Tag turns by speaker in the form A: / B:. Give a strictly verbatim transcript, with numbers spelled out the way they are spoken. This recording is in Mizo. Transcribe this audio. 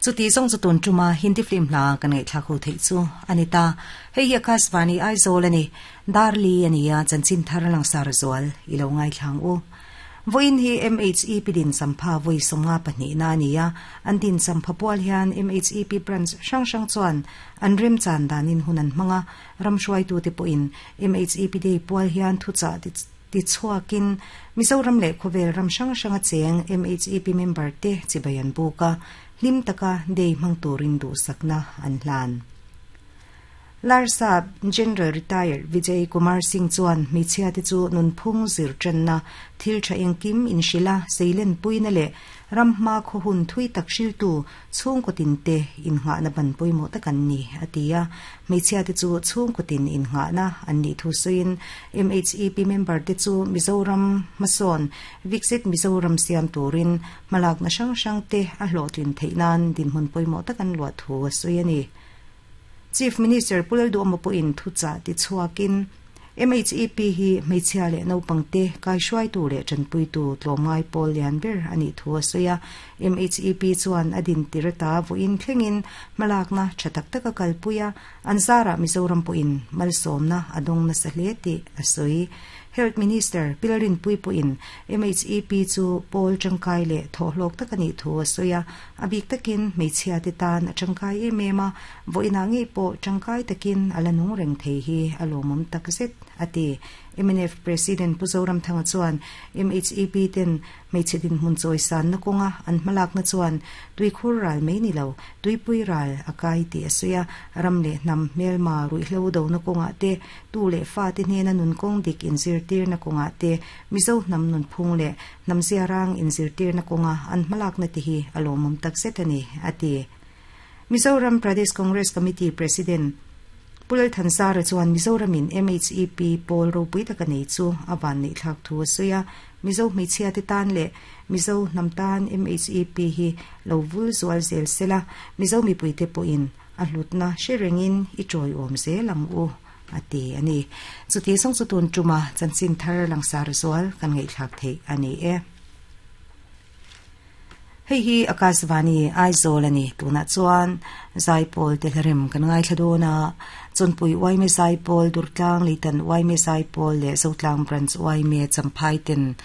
A: Chuti zong chu tun tuma Hindi film hla kan ngai thla khu thei chu anita hei hi Akashvani Aizawl ani Darli ania chanchin thar lang sar zual ilo ngai thlang u voin hi M H E P din sampha voi songa pahnih na ania an din sampha pual hian M H E P branch hrang hrang chuan an rem chan danin hunan hmanga ramhruai tu te pawhin M H E P day pual hian thucha ti ti chhuakin Mizoram leh khawvel ram hrang hranga cheng M H E P member te chibayan buka lim taka day hmang turin du sakna an hlan. Larsa General Retired Vijay Kumar Singh chuan hmeichhia te chu nunphung zir tanna thil tha engkim inhrila seilen puina le ramhma khaw hun thui tak hriltu chhungkaw tin te innghahna ban pawimawh tak an ni atia hmeichhia te chu chhungkaw tin innghahna an nih thu sawiin M H E P member te chu Mizoram hmasawn Viksit Mizoram siam turin hmalakna hrang hrang te a hlawhtlin theih nan dinhmun pawimawh tak an luah thu a sawi a ni. Chief Minister Pulal Duama pawhin thucha ti chhuakin M H E P hi hmeichhia leh naupang te kaihruai tu leh tanpui tu tlawmngai pawl lian ber ani thu a sawi a. M H E P chuan a din tirata vawiin thlengin hmalakna tha tak tak a kalpui a an zarah Mizoram pawhin malsawmna a dawng nasa hle tih a sawi. Health Minister Pilarin Pui pawhin M H E P chu pawl tangkai leh thawhlawk tak ani thu a sawi a a bik takin hmeichhia te tan a tangkai em em a vawiinah ngei pawh tangkai takin a la nung reng thei hi a lawmawm tak zet ati. M N F President Pu Zoram Thanga chuan M H E P ten hmeichhe dinhmun chawi san na kawnga an hmalakna chuan tuikhur ral mai ni lo tuipui ral a kai tih a sawi a ram leh hnam hmelma ruihhlo do na kawnga te tu leh fa te hnena nun kawng dik inzirtir na kawnga te Mizo hnam nun phung leh hnam ziarang inzirtir na kawnga an hmalakna te hi a lawmawm tak zet ani ati. Mizoram Pradesh Congress Committee President Pulal Thansara chuan Mizoramin M H E P pawl ropui taka nei chu a van nei thlak thu a sawi a Mizo hmeichhia te tan leh Mizo hnam tan M H E P hi lo vul zual zel sela Mizo mipui te pawhin a hlutna hre rengin i tawi awm zel ang u ati ani. Chuti song chu tun tuma chanchin thar langsar zual kan ngei thlak thei ani e. Hei hi Akashvani Aizawl ani tuna chuan Zaipawl te hlarem kan ngai thladona chonpui Waime Zaipawl Durtlang Leitan Waime Zaipawl leh Zotlang Branch Waime Champhai ten